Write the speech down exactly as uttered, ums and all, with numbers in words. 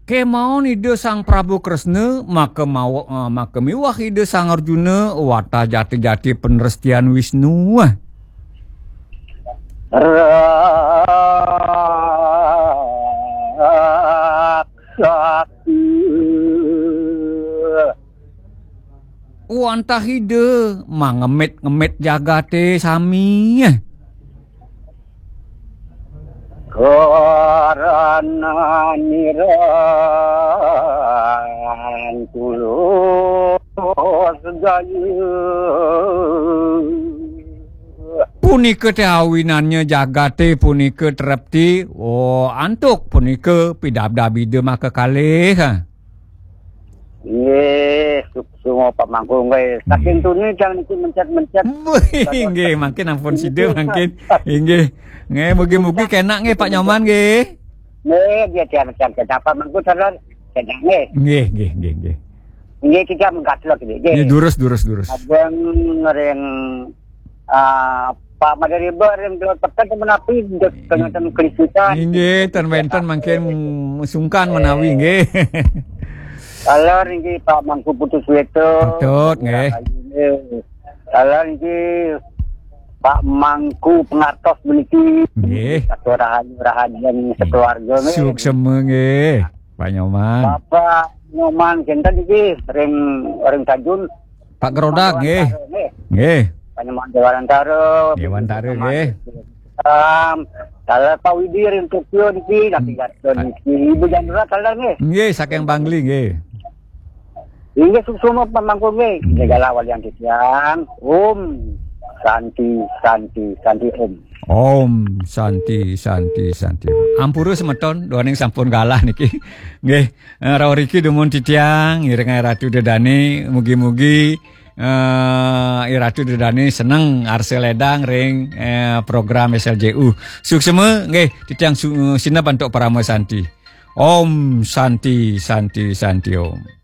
Kemaon Ida Sang Prabu Kresna, maka mawa, eh, maka miwah Ida Sang Arjuna, watah jati-jati panrestian Wisnu. Raksasa. Wantah Ida mangemit-ngemit jagate sami. Karana nirang tulus gaya. Punika te awinannya jagate punika trepti. Oh, antuk punika pidabdab Ida maka kalih. Nggih, suksma pamangku nggih. Saking tuni tiang niki mencet-mencet. Wih, nggih, mangkin ampun sida mangkin. Inggih. Nggih, mugi-mugi kenak nggih Pak Nyoman nggih. Nggih, dia tiang tiang kenapa mangku sadar kenak nggih. Nggih, nggih, nggih, nggih. Nggih, kita mengkatlok nggih. Nggih, durus, durus, durus. Abang ring ah, Pak Madariba ring Dewata Peken menapi dek kengeten kelisitan. Inggih, ten wenten mangkin sungkan menawi nggih. Taler niki Pak Mangku Putu Sweta. Patut, nggih. Taler niki Pak Mangku Pengatos meniki. Nggih. Satu rahayu rahayu sekeluarga nggih. Suksema nggih, Pak Nyoman. Bapak Nyoman kinten niki ring ring Tanjung. Pak Gerodak nggih. Nggih. Pak Nyoman Dewantara. Dewantara nggih. Salam. Taler Pak Widi ring Tokyo niki, nanti Pak niki. Ibu Jandra taler nggih. Nggih, saking Bangli nggih. Inggih suksma pamangku nggih. Nggih. Segala walian titiang. Om Santi, Santi, Santi Om. Om Santi, Santi, Santi. Ampura semeton, duaning sampun galah niki. Nggih, eh, rauh riki dumun titiang, ngiring Ratu Dedane, mugi-mugi eh, Ratu Dedane seneng arsa ledang ring eh, program S L J U. Suksema nggih, titiang su- sineb antuk Parama Santi. Om Santi, Santi, Santi Om.